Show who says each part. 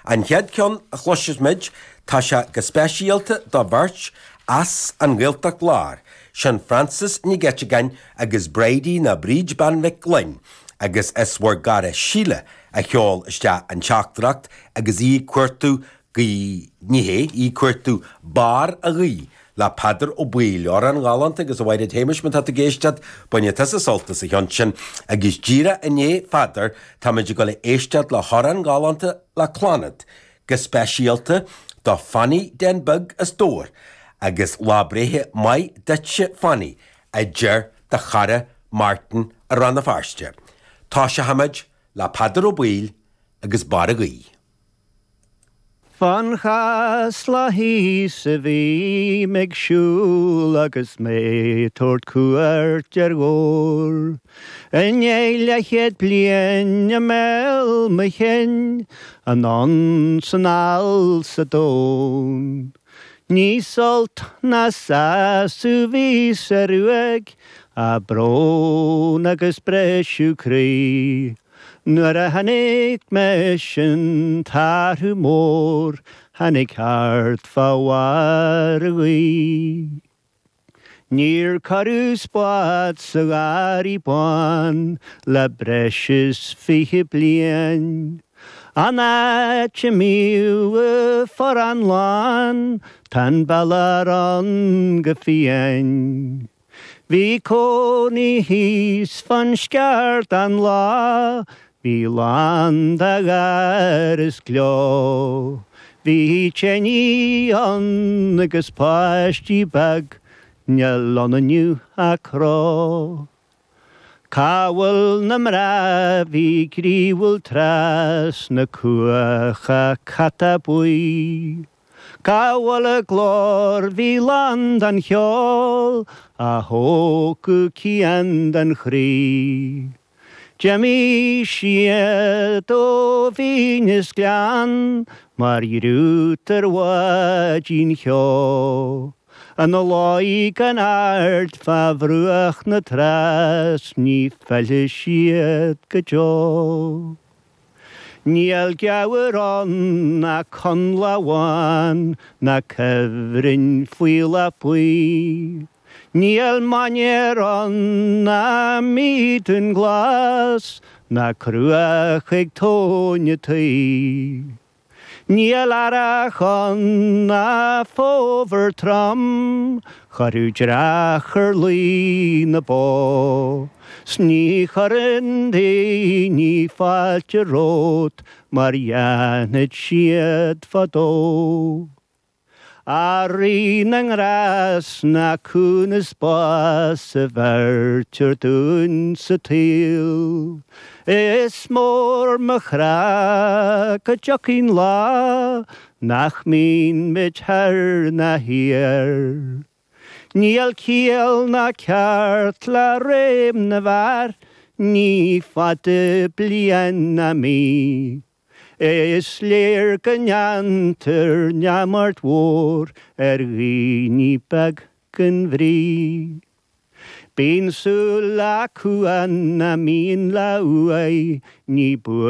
Speaker 1: An chéad ceann a chloisfidh muid, tá sé go speisialta do bheirt as an nGaeltacht Láir, sin Frances Nic Eiteagáin agus Bridie nó Bríd Bean Mhic Gloinn, agus is bhur gcara Síle a sheol isteach an teachtaireacht agus í ag cuartú gaoth, ní hé, í ag cuartú Barr a' Ghaoth le Peadar Ó Baoill, amhrán galánta agus a Mhaighread Shéamais má tá tú ag éisteacht, bainfidh tusa sult as an cheann sin agus díreach i ndiaidh Pheadair táimid ag dul a éisteacht le hamhrán galánta le Clannad, go speisialta do Fanny Den Beag as Dobhar agus lá breithe maith duitse Fanny a deir do chara Martin i Rann na Feirste. Toiseochaimid le Peadar Ó Baoill agus Barr a' Ghaoth.
Speaker 2: Fán Chasla thíos a bhím ag siúl agus mé tabhairt cuairt ar Dhobhar. I ndiaidh leathchéad bliain i mbéal mo chinn, anonn 's anall sa domhan. Ní sult ná sásamh bhí sa ruaig, ach brón agus briseadh croí. Nuair a chonaic mise an t-athrú mór tháinig thart fá bharr a' ghaoith. Níor cuireadh spád sa gharraí bán le breis is 20 bliain. An áit a mbíodh an forrán lán, tá an bealach ann go fiáin. Bhí cónaí thíos fán Sceardán lá, bhí lán de gháir is gleo. Bhí teine ann agus páistí beag, níl ann inniu ach cró. Cá bhfuil na mná a bhí gnaíúil tráth sna cuacha cata buí? Cá bhfuil a nglór bhí lán den cheol a thógfadh cian den chroí? D'imigh siad ó bhinn is gleann mar dhriút ar bháidín cheo. Ina luí gan aird fá bhruach na trá 's ní fillfidh siad go deo. Níl gabhar ann ná conlabhán ná cuibhreann faoileach buí. Níl mainéar ann ná míodún glas ná cruach ag tóin a' tuí. Níl earrach ann ná fómhar trom, chuirfeadh dreach ar luí na bó. 'S ní chuireann daoine fáilte romhat mar dhéanfadh siad fadó. A Rí na nGrást ná cúnamh 's bás a bheirtear dúinn sa tsaol. Is mór mo chrá go dtiocfaidh an lá nach mbímid thoir ná thiar. Níl ciall ná ceart le réim na bhfear, ní fada bliain ná mí. Is léir go ndéantar neamart mhór ar dhaoine beag gan bhrí. Bíonn súil acu ann a mbíonn lá uaidh, ní buan.